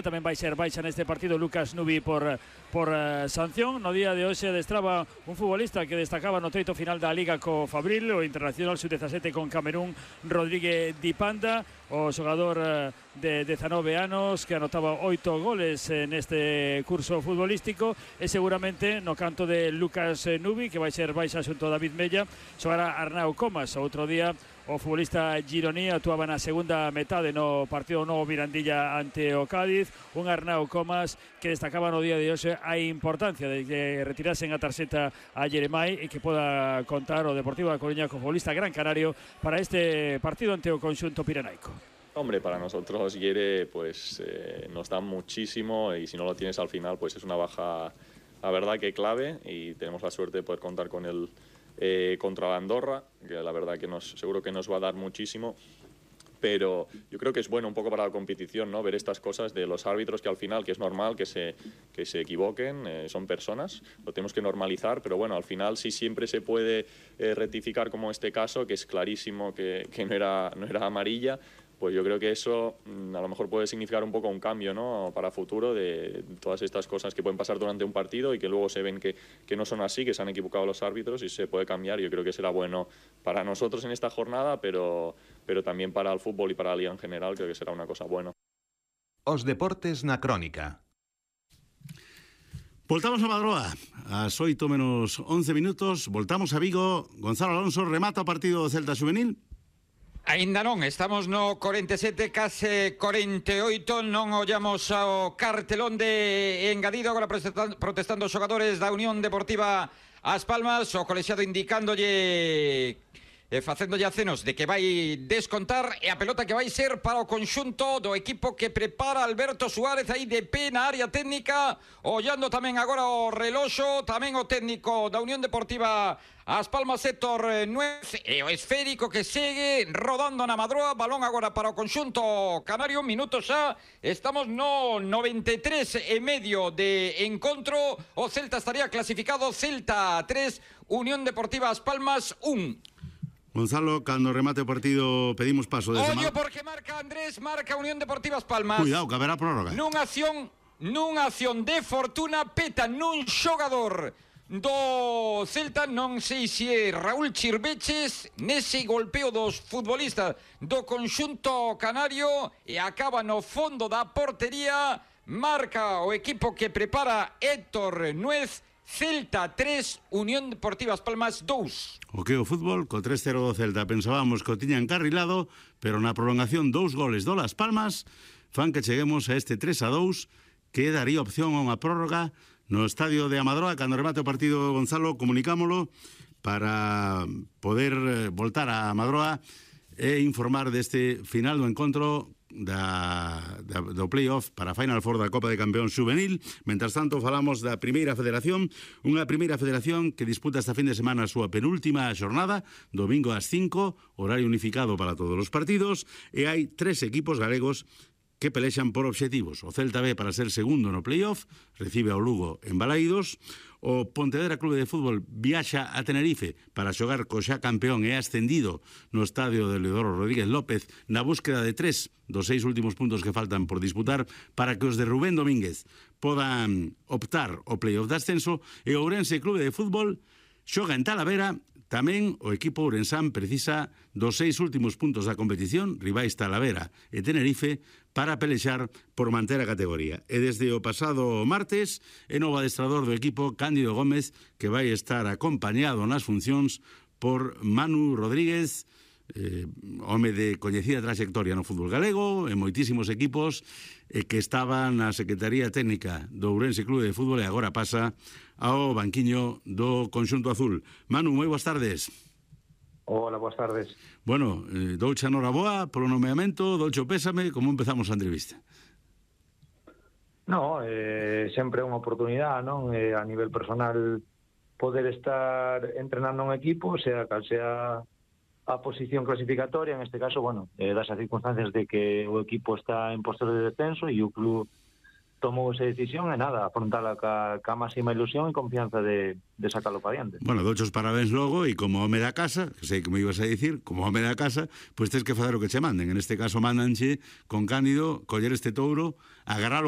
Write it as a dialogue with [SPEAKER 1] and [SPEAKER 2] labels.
[SPEAKER 1] Tamén vai ser baixa neste partido Lucas Nubi por sanción. No día de hoxe adestraba un futbolista que destacaba no treito final da Liga co Fabril, o internacional sub-17 con Camerún, Rodríguez Di Panda, o xogador de 19 anos que anotaba 8 goles neste curso futbolístico, e seguramente no canto de Lucas Nubi, que vai ser baixa xunto a David Mella, xogará Arnau Comas. Outro día o futbolista gironí actuaba na segunda metade no partido novo Mirandilla ante o Cádiz. Un Arnau Comas que destacaba no día de hoxe a importancia de que retirasen a tarxeta a Jeremai e que poda contar o Deportivo da Coruña co futbolista gran canario para este partido ante o conxunto pirenaico.
[SPEAKER 2] Hombre, para nosotros Yere pues nos da muchísimo, y si no lo tienes al final pues es una baja, la verdad que clave, y tenemos la suerte de poder contar con él contra la Andorra, que la verdad que seguro que nos va a dar muchísimo. Pero yo creo que es bueno un poco para la competición, ¿no? Ver estas cosas de los árbitros, que al final, que es normal que se equivoquen, son personas, lo tenemos que normalizar, pero bueno, al final sí siempre se puede rectificar, como este caso, que es clarísimo que no era amarilla. Pues yo creo que eso a lo mejor puede significar un poco un cambio, ¿no? Para futuro, de todas estas cosas que pueden pasar durante un partido y que luego se ven que no son así, que se han equivocado los árbitros, y se puede cambiar. Yo creo que será bueno para nosotros en esta jornada, pero también para el fútbol y para la liga en general. Creo que será una cosa buena.
[SPEAKER 3] Os deportes na crónica.
[SPEAKER 4] Voltamos a Madroa, ás 8 menos 11 minutos. Voltamos a Vigo. Gonzalo Alonso remata o partido do Celta Xuvenil.
[SPEAKER 5] Ainda non, estamos no 47, case 48, non ollamos ao cartelón de engadido, agora protestando os xogadores da Unión Deportiva As Palmas, o colexiado indicándolle, facéndolle acenos de que vai descontar, e a pelota que vai ser para o conxunto do equipo que prepara Alberto Suárez aí de pé na área técnica, ollando tamén agora o reloxo, tamén o técnico da Unión Deportiva As Palmas, Héctor Nuez, e o esférico que segue rodando na Madroa. Balón agora para o conxunto canario, minutos xa, estamos no 93 e medio de encontro. O Celta estaría clasificado, Celta 3, Unión Deportiva As Palmas 1.
[SPEAKER 4] Gonzalo, cando remate o partido pedimos paso desde
[SPEAKER 5] Ollo porque marca Andrés, marca Unión Deportiva As Palmas.
[SPEAKER 4] Cuidado, que haberá prórroga.
[SPEAKER 5] Nunha acción de fortuna, peta nun xogador do Celta, non sei se é Raúl Chirveches, nese golpeo dos futbolistas do conxunto canario, e acaba no fondo da portería. Marca o equipo que prepara Héctor Nuez. Celta 3, Unión Deportiva As Palmas 2.
[SPEAKER 4] O que o fútbol, co 3-0 do Celta, pensábamos que o tiña encarrilado, pero na prolongación 2 goles do Las Palmas fan que cheguemos a este 3-2, que daría opción a unha prórroga no estadio de Amadroa. Cando remate o partido, Gonzalo, comunicámolo para poder voltar a Amadroa e informar deste final do encontro do playoff para a Final Four da Copa de Campeóns Juvenil. Mentras tanto, falamos da Primeira Federación, unha Primeira Federación que disputa esta fin de semana a súa penúltima xornada, domingo ás 5, horario unificado para todos os partidos, e hai 3 equipos galegos que pelexan por obxectivos. O Celta B para ser segundo no playoff, recibe ao Lugo en Balaídos. O Pontevedra Clube de Fútbol viaxa a Tenerife para xogar co xa campeón e ascendido no estadio de Leodoro Rodríguez López na búsqueda de 3 dos 6 últimos puntos que faltan por disputar para que os de Rubén Domínguez podan optar ao playoff de ascenso. E o Ourense Clube de Fútbol xoga en Talavera. Tamén o equipo ourensán precisa dos 6 últimos puntos da competición, rivais Talavera e Tenerife, para pelexar por manter a categoría. E desde o pasado martes, é novo adestrador do equipo Cándido Gómez, que vai estar acompañado nas funcións por Manu Rodríguez, home de coñecida trayectoria no fútbol galego, en moitísimos equipos, que estaba na Secretaría Técnica do Ourense Clube de Fútbol e agora pasa ao banquiño do conxunto azul. Manu, moi boas tardes.
[SPEAKER 6] Hola, boas tardes.
[SPEAKER 4] Bueno, douche a noraboa polo nomeamento, douche o pésame, como empezamos a entrevista?
[SPEAKER 6] No, sempre é unha oportunidade, non? A nivel personal, poder estar entrenando un equipo, sea cal sea a posición clasificatoria, en este caso, bueno, das as circunstancias de que o equipo está en postos de descenso e o club tomou esa decisión e nada, afrontala ca máxima ilusión e confianza de sacarlo para diante.
[SPEAKER 4] Bueno, dochos parabéns logo e como home da casa, que sei que me ibas a dicir, como home da casa, pois tens que fazer o que che manden. En este caso mandanche con Cándido coller este touro, agarralo